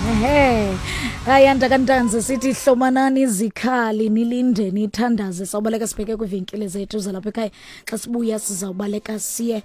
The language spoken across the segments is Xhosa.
Ehe. Ayanda kaNtanzi, sithi hlomanani izikhali, nilinde, nithandaze. Sawubaleka sibheke kwivenkile zethu zalapha ekhaya. Xa sibuya sizawubaleka siye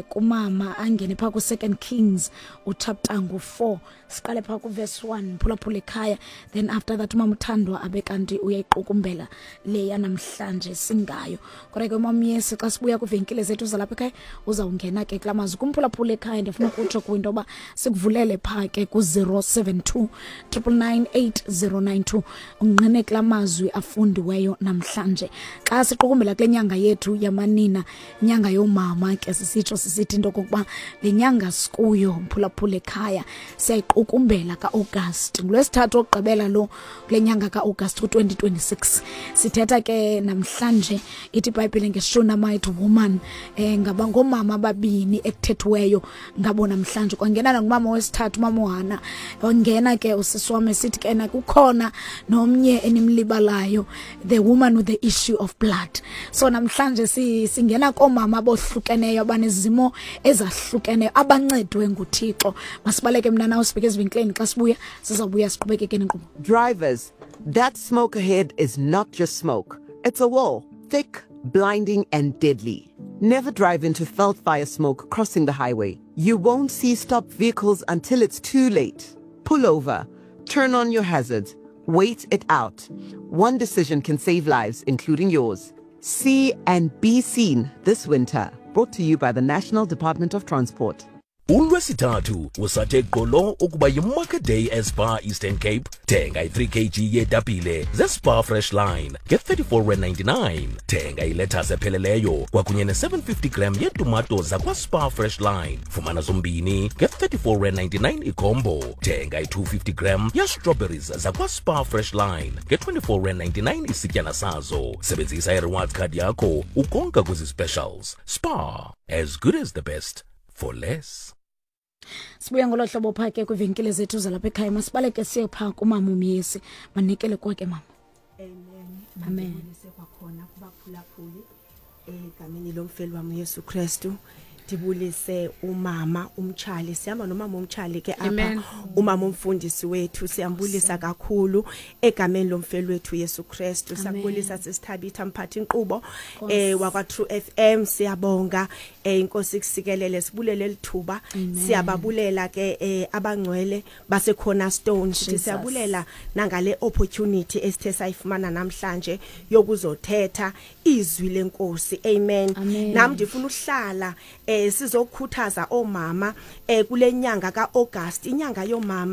kumama angene phaa ku-Second Kings uchapter ngu-4, siqale phaa kuverse 1, phulaphula ekhaya. Then after that umama uthandwa abe kanti uyayiqukumbela le yanamhlanje singayo. Kodwa ke umama Yesi, xa sibuya kwivenkile zethu zalapha ekhaya, uzawungena ke kula mazwi kumphulaphula ekhaya. Ndifuna ukutsho kwinto yoba sikuvulele phaa ke ku-072 999 8092, ungqine kula mazwi afundiweyo namhlanje xa siqukumbela kule nyanga yethu yamanina, inyanga yoomama. Ke sisitsho sisithi into okokuba le nyanga sikuyo, mphulaphula ekhaya, siyayiqukumbela ka-August, ngulwesithathu okugqibela lo kule nyanga ka-August ku-2026. Sithetha ke namhlanje, ithi iBhayibhile ngeShunammite woman, ngaba ngoomama ababini ekuthethiweyo ngabo namhlanje. Kwangena nangumama wesithathu, umama uHana wangena ke. Usisi wam esithi ke na kukhona nomnye enimlibalayo, the woman with the issue of blood. So namhlanje singena koomama abohlukeneyo abanezimo ezahlukeneyo abancedwe nguThixo. Masibaleke mna nawe sibheke ezivenkileni. Xa sibuya sizawubuya siqhubekeke nenkqubo. Drivers, that smoke ahead is not just smoke. It's a wall, thick, blinding, and deadly. Never drive into veld fire smoke crossing the highway. You won't see stopped vehicles until it's too late. Pull over, turn on your hazards, wait it out. One decision can save lives, including yours. See and be seen this winter. Brought to you by the National Department of Transport. Ulwesithathu usathe gqolo ukuba yiMarket Day eSpar Eastern Cape. Thenga i-3 kg yeetapile zeSpar Fresh Line nge-34.99. Thenga ilethasi epheleleyo kwakunye ne-750 gram yetumato zakwaSpar Fresh Line, fumana zombini nge-34.99 icombo. Thenga i-250 gram ye-strawberries zakwaSpar Fresh Line nge-24.99 isityana sazo. Sebenzisa i-rewards card yakho ukonka kwezi specials. Spar, as good as the best for less. Sibuya ngolo hlobo phaa ke kwiivenkile zethu zalapha ekhaya. Masibaleke siye phaa kumama uMyesi, manikele kwake mama. Amen. Amen. Mandibulise kwakhona kubaphulaphuli egameni lomfeli wam uYesu Kristu. Ndibulise umama umtshali, sihamba nomama umtshali ke apha. Amen. Umama umfundisi wethu, siyambulisa kakhulu egameni lomfeli wethu Yesu Kristu. Siyakubulisa sisithabitha, mphathi inkqubo wakwa True FM, siyabonga. Inkosi kusikelele, sibulele lithuba. Siyababulela ke abangcwele base Cornerstone, sithi Jesus. siyabulela nangale opportunity esithe sayifumana namhlanje yokuzothetha izwi lenkosi. Amen. Amen. Nami ndifuna uhlala sizokhuthaza omama kule nyanga kaAugust, inyanga yomama.